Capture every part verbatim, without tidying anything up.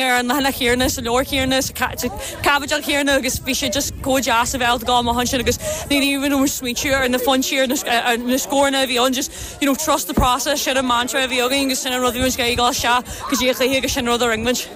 Ar an leathanach céanna, sa leabhar céanna, sa chaibidil chéanna, agus bhí sé just chomh deas a bheith ag amach ansin agus ní raibh muid smaointiú ar na pointí, ar na scóranna a bhí ann. Just you know trust the process, sin an mantra a bhí againn agus sin an rud a bhí muid ag dul isteach go dtí an chluiche agus sin an rud a rinne muid.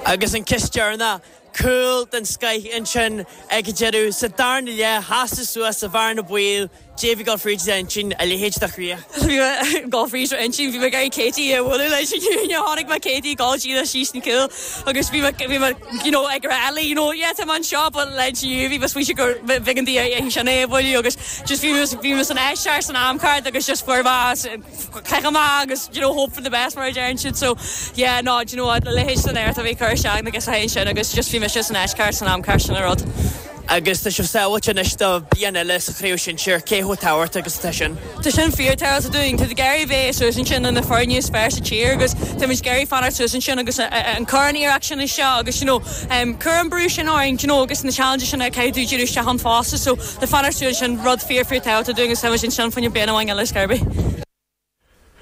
Agus an ceist deireanach, cúl den scoth ansin ag an deireadh sa darna leath, sheasamh suas sa bhearna baoil, Davy dul fríd ansin, a leithéid de chríoch. Bhí mé dul fríd ansin, bhí mé ag iarraidh Katie a bhualadh leis an tháinig mé Katie dul díreach síos an cúl agus bhí mé bhí mé you know ag rá Ellie, you know yeah tá mé anseo, but leis bhí mé smaointe gur bheag an dí sin é a bhualadh agus just bhí mé bhí mé san áit cheart san am ceart agus just fuair mé caitheamh amach agus you know hope for the best mar a deireann siad. So yeah, no, do you know what, le leithéid san air a bhí cur isteach agus a sin agus just bhí mise san áit cheart san am ceart, sin an rud. Agus tá sibh sábháilte anois do bliain eile sa chraobh sinsir, cé chomh tábhachtach agus atá sin? Tá sin fíorthábhachtach dúinn. Tá ag iarraidh bheith suas ansin na foirne is fearr sa tír agus tá muid ag iarraidh fanacht suas ansin agus an cur an iarracht sin isteach agus you know um, cur an brú sin orainn you know, agus na challenge sin a caithfidh tú díriú isteach ann fosta, so le fanacht suas sin rud fíor fíor tábhachtach dúinn agus tá muid ansin faoin bliain amháin eile scarby.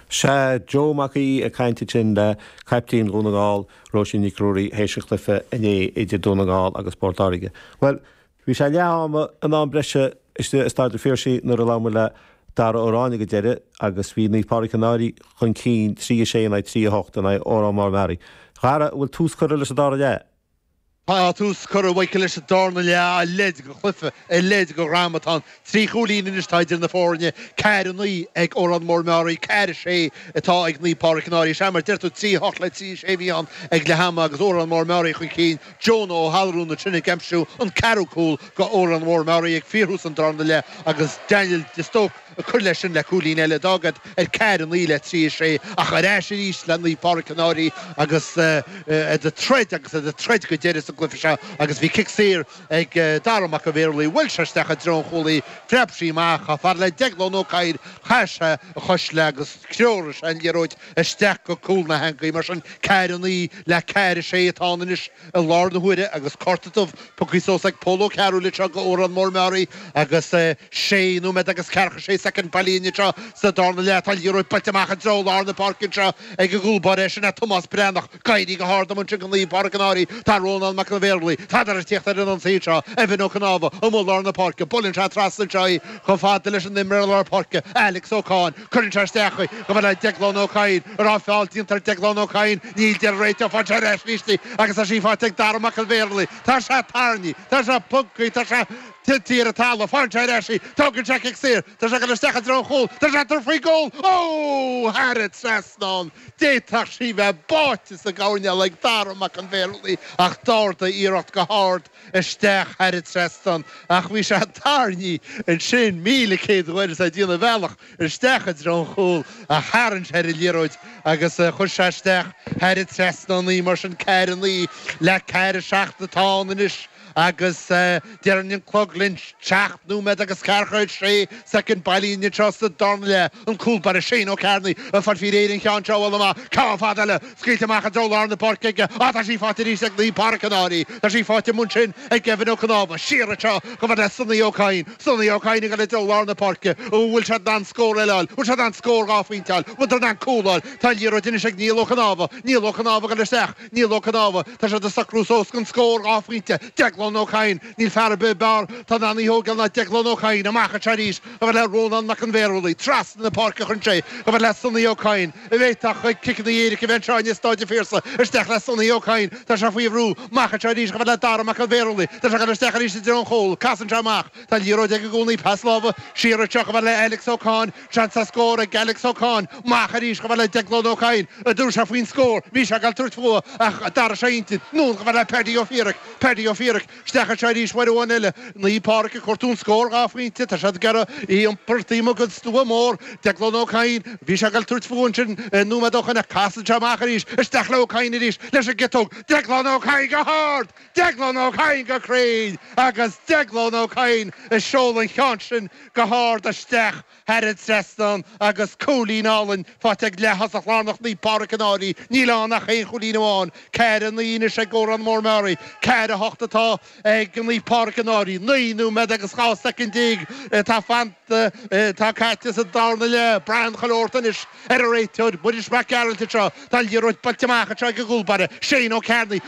Sé Joe Mac Aoidh ag caint sin le caiptín Dhún na nGall, Róisín Nic Ruairí, théis an chluiche inné idir Dún na nGall agus Port Láirge. Well, bhí sé leath ama in am breise istigh i Staid an Phiarsaigh nuair a labhair le Dara Ó Ráinne go deireadh agus bhí Naomh Pádraig Cill Náirí chun cinn trí a sé in aghaidh trí a hocht in aghaidh Órán Mór Meáraí. Dhara, bhfuil tús curtha leis an dara leath? Tá tús curtha Mhichael leis an darna leath, a leithéid de chluiche, a leithéid de dhráma atá ann. Trí chúilín anois atá idir na foirne, ceathair a naoi ag Órán Mór Meáraí, ceathair a sé atá ag Naomh Pádraig Cill Náirí. Sea, mar deir tú, trí hocht le trí sé a bhí ann ag leath ama agus Órán Mór Meáraí chun cinn. Jonah Ó hAlrún ansin ag aimsiú an ceathrú cúl go Órán Mór Meáraí ag fíorthús an darna leath agus Daniel de Stoke ag cur leis sin le cúilín eile. D'fhág iad ar ceathair a naoi le trí a sé ach ar ais arís le Naomh Pádraig Cill Náirí agus iad ag troid agus iad ag troid go deireadh sa gcluiche seo agus bhí cic saor ag Dara Mac an Bhéarlaí. Bhuail sé isteach i dtreo an chúlaí, phreab sí amach chomh fada le Deaglán Ó Cadhain, chaith sé a chois léi agus threoraigh sé an liathróid isteach go cúl na heangaí. Mar sin ceathair a naoi le ceathair a sé atá ann anois i lár na huaire agus cárta dubh pioctha suas ag Pól Ó Cearúil anseo go Órán Mór Meáraí agus sé nóiméad agus ceathracha sé soicind bailithe anseo sa darna leath. Tá liathróid buailte amach i dtreo lár na páirce anseo ag an gcúl báire, sin é Tomás Breathnach. Ag éirí go hard ansin go Naomh Pádraig Cill Náirí. Tá Rónán Mac an Bhéarlaí. Tádar ag tíocht ar an ionsaí anseo. Evan Ó Cnámha amuigh lár na páirce. Buaileann sé trasna anseo í chomh fada leis an imreoir lár páirce Alex Ó Cáin. Cuireann sé isteach í chomh fada le Deaglán Ó Cadhain. An raibh feall déanta ar Deaglán Ó Cadhain? Níl, deir an réiteoir. Faigheann sé ar ais arís í agus tá sí faighte ag Dara Mac an Bhéarlaí. Tá sé tarraingthe. Tá sé pugtha. Tá sé tite ar an talamh. Faigheann sé ar ais í. Tógann sé cic saor. Tá sé ag dul isteach i dtreo an chúil. Tá sé ag tabhairt faoin gcúl. Ó! Thar an trasnán. D'fhéadfadh sí bheith báite sa gcoirnéal ag Dara Mac an Bhéarlaí ach d'ardaigh iarracht go hard isteach thar an trasnán ach bhí sé tarraingthe ansin míle céad uair is é ag déanamh a bhealach isteach i dtreo an chúil ach tharraing sé ar an liathróid agus chuir sé isteach thar an trasnán í. Mar sin ceathair a naoi le ceathair a seacht atá ann anois agus deireann an clog linn seacht nóiméad agus ceathracha a sé soicind bailithe anseo sa darna leath. An cúl báire Shane Ó Cearnaigh ag fáil faoi réir an cheann seo a bhualadh amach. Ceann fada eile scaoilte amach i dtreo lár na páirce aige. Á tá sí faighte arís ag Naomh Pádraig Cill Náirí. Tá sí faighte amuigh ansin ag Kevin Ó Cnámha. Siar anseo chomh fada le Sonny Ó Cadhain. Sonny Ó Cadhain ag dul i dtreo lár na páirce. An bhfuil siad in ann scór eile a fháil? Bhfuil siad in ann scór dhá phointe a fháil? Bhfuil siad in ann cúl a fháil? Tá an liathróid anois ag Niall Ó Cnámha. Niall Ó Cnámha ag dul isteach. Niall Ó Cnámha. Tá siad ag socrú suas don scór dhá phointe. Deaglán Ó Cadhain. Níl fear ar bith b'fhearr atá in ann í a thógáil ná Deaglán Ó Cadhain. Amach anseo arís chomh fada le Rónán Mac an Bhéarlaí. Trasna na páirce a chuireann sé chomh fada le Sonny Ó Cadhain. A bhféadfadh ciceanna éirice a bheith anseo i Staid an Phiarsaigh. Isteach le Sonny Ó Cadhain. Tá sé faoi bhrú. Amach anseo arís chomh fada le Dara Mac an Bhéarlaí. Tá sé ag dul isteach arís i dtreo an chúil. Casann sé amach. Tá an liathróid aige i gcónaí. Pas láimhe siar anseo chomh fada le Alex Ó Cadhain. Seans ar scór ag Alex Ó Cadhain. Amach arís chomh fada le Deaglán Ó Cadhain. An dtabharfaidh sé faoin scór? Bhí sé ag dul tabhairt fúthu ach d'athraigh sé a intinn. Anonn chomh fada le Paddy Ó Fiaraic. Paddy Ó Fiaraic isteach anseo arís uair amháin eile. Naomh Pádraig ag cuartú an scór dhá phointe. Tá siad ag iarraidh í a iompar taobh amuigh den stua mór. Deaglán Ó Cadhain. Bhí sé ag dul tabhairt fúthu ansin nóiméad ó shoin ach casann sé amach arís. Isteach le Ó Cadhain arís leis an gciotóg. Deaglán Ó Cadhain go hard! Deaglán Ó Cadhain go cruinn! Agus Deaglán Ó Cadhain ag seoladh an cheann sin go hard isteach thar an trasnán agus cúilín álainn faighte ag leath-thosach lárnach Naomh Pádraig Cill Náirí. Níl ann ach aon chúilín amháin. Ceathair a naoi anois ag Órán Mór Meáraí. Ceathair ceathair a hocht atá ag Naomh Pádraig an Fhairche. Naoi nóiméad agus dhá soicind déag atá fanta, atá caite sa darna leath. Braitheann chuile shórt anois ar an réiteoir, Muiris Mac Gearailt anseo. Tá an liathróid buailte amach anseo ag an gcúl báire, Shane Ó Cearnaigh.